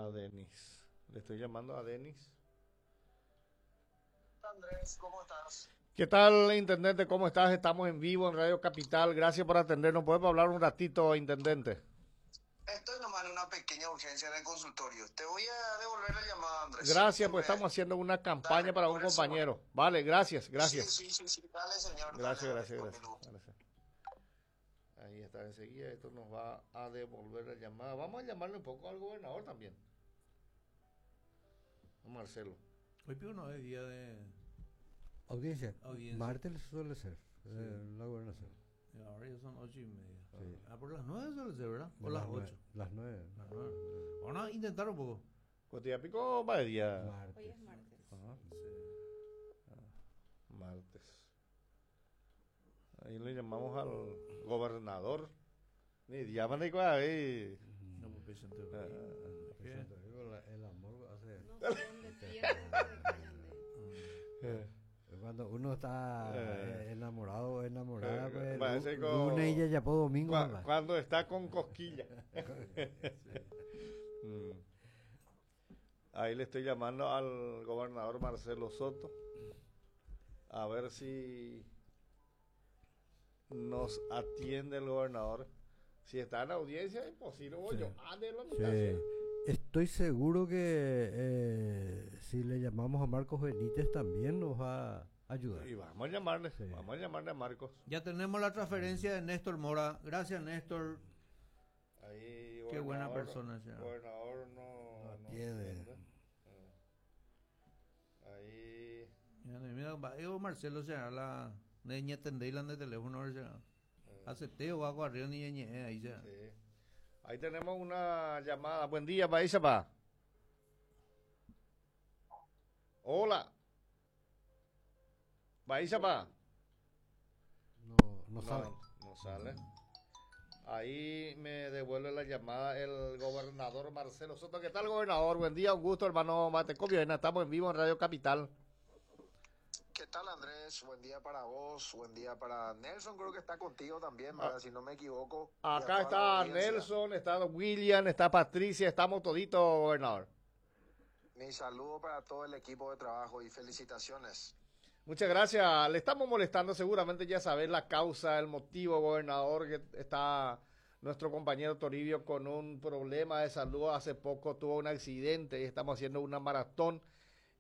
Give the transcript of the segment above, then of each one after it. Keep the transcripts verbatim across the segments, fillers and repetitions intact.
A Denis. Le estoy llamando a Denis. Andrés, ¿cómo estás? ¿Qué tal, intendente? ¿Cómo estás? Estamos en vivo en Radio Capital. Gracias por atendernos. ¿Podemos hablar un ratito, intendente? Estoy nomás en una pequeña urgencia en el consultorio. Te voy a devolver la llamada, Andrés. Gracias, pues estamos haciendo una campaña Dale, para un por eso. compañero. Vale, gracias, gracias. Sí, sí, sí, sí. Dale, señor. Gracias, dale, gracias, dale, gracias, con mi gracias. Ahí está, enseguida esto nos va a devolver la llamada. Vamos a llamarle un poco al gobernador también. A Marcelo. Hoy pido no es día de Audiencia. audiencia. Martes suele ser. eh, la gobernación. Y Ahora ya son ocho y media. Sí. Ah, por las nueve suele ser, ¿verdad? O De las nueve- ocho. Las nueve. Las nueve. Vamos a intentar un poco. Cotilla Pico va de día. Martes. Hoy es martes. Ajá. Martes. Ahí le llamamos al gobernador. Ni llaman ni cuál, ahí. No, pues presente. Ah, ¿Qué? Digo, la- El amor hace. No sé dónde tiene Eh, Cuando uno está Eh. eh, enamorado o enamorada, Eh, pues, parece lu- como- lunes y ya ya por domingo. cua- mamá. cuando está con cosquilla. Mm. Ahí le estoy llamando al gobernador Marcelo Soto. A ver si nos atiende el gobernador. Si está en audiencia, imposible. Voy Sí. yo. Ah, de la mitad, Sí. sí. Estoy seguro que eh, si le llamamos a Marcos Benítez también nos va a ayudar. Y vamos a llamarle, Sí. vamos a llamarle a Marcos. Ya tenemos la transferencia de Néstor Mora. Gracias, Néstor. Ahí, Qué buena gobernador- persona, señor. Gobernador no, No no atiende. atiende. Eh. Ahí. Ya, mira, va, yo, Marcelo será la niña tendela de teléfono. será. Acepté o hago arriba ni ñe, ahí será. Sí. Ahí tenemos una llamada. Buen día, Paísapa. Hola. Paísapa. No, no sabe. No sale. Ahí me devuelve la llamada el gobernador Marcelo Soto. ¿Qué tal, gobernador? Buen día, un gusto, hermano Matecopio. Estamos en vivo en Radio Capital. ¿Qué tal, Andrés? Buen día para vos, buen día para Nelson, creo que está contigo también, ¿verdad? Si no me equivoco. Y a Acá toda la está audiencia. Nelson, está William, está Patricia, estamos toditos, gobernador. Mi saludo para todo el equipo de trabajo y felicitaciones. Muchas gracias. Le estamos molestando, seguramente ya sabes la causa, el motivo, gobernador, que está nuestro compañero Toribio con un problema de salud. Hace poco tuvo un accidente y estamos haciendo una maratón.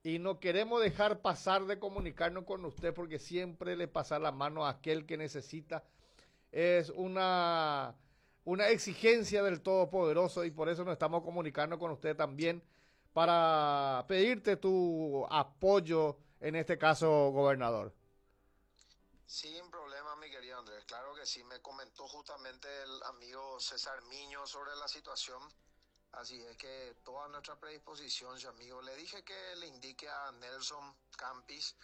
Y no queremos dejar pasar de comunicarnos con usted porque siempre le pasa la mano a aquel que necesita. Es una, una exigencia del Todopoderoso y por eso nos estamos comunicando con usted también para pedirte tu apoyo en este caso, gobernador. Sin problema, mi querido Andrés. Claro que sí, me comentó justamente el amigo César Miño sobre la situación. Así es que toda nuestra predisposición, su amigo. Le dije que le indique a Nelson Campis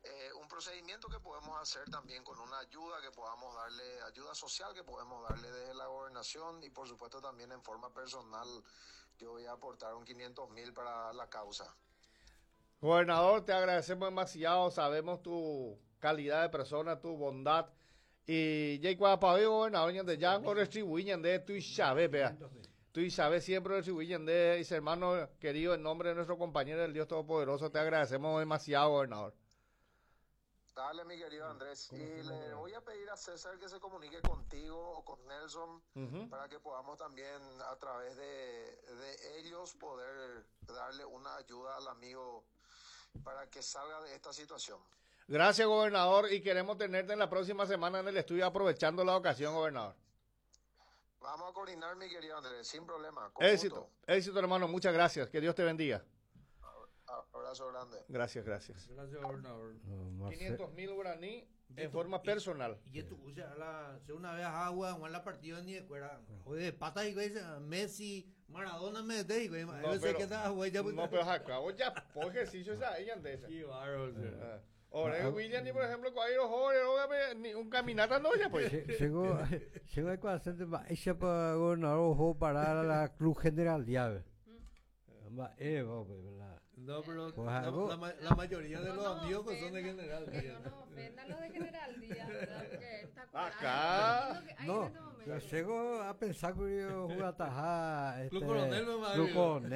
eh, un procedimiento que podemos hacer también con una ayuda que podamos darle, ayuda social que podemos darle desde la gobernación y por supuesto también en forma personal. Yo voy a aportar un quinientos mil para la causa. Gobernador, te agradecemos demasiado, sabemos tu calidad de persona, tu bondad. Y ya cuando gobernador, ñande ya retribuí ñande tu y vea. Tu y siempre retribuí ñande, y hermano querido, en nombre de nuestro compañero del Dios Todopoderoso, te agradecemos demasiado, gobernador. Dale, mi querido Andrés. Y le voy a pedir a César que se comunique contigo o con Nelson Ujú. para que podamos también a través de, de ellos poder darle una ayuda al amigo para que salga de esta situación. Gracias, gobernador, y queremos tenerte en la próxima semana en el estudio aprovechando la ocasión, gobernador. Vamos a coordinar, mi querido Andrés, sin problema. Con Éxito, gusto. éxito, hermano, muchas gracias. Que Dios te bendiga. Abrazo grande. Gracias, gracias. Gracias, gobernador. No, Marce- quinientos mil guaraní en Y forma tú- personal. Y esto, o sea, la, si una vez agua, en la partida ni de cuera. Joder, pata y güey, Messi, Maradona me de güey. No, Yo sé pero- que está, güey, ya No, pero acabo ya por ejercicio esa ella de esa. Qué bárbaro, o sea. Ah. Ahora William, ni por ejemplo, con los jóvenes, óigame, ni un caminata no ya pues. Che- Chegou, chegou a quase ella para gobernador ojo para la Cruz General Diave. Ma eh, va, pues, la- No, pero Pues la, algo- la ma- la mayoría de No los nos amigos que son de ofendan, General Que Díaz. no nos ofendan los de General Díaz, ¿verdad? Porque está curado. Acá. Es lo que hay en No, este momento. yo llego a pensar que yo jugaba Club Coronel, no, Club madre. Coronel.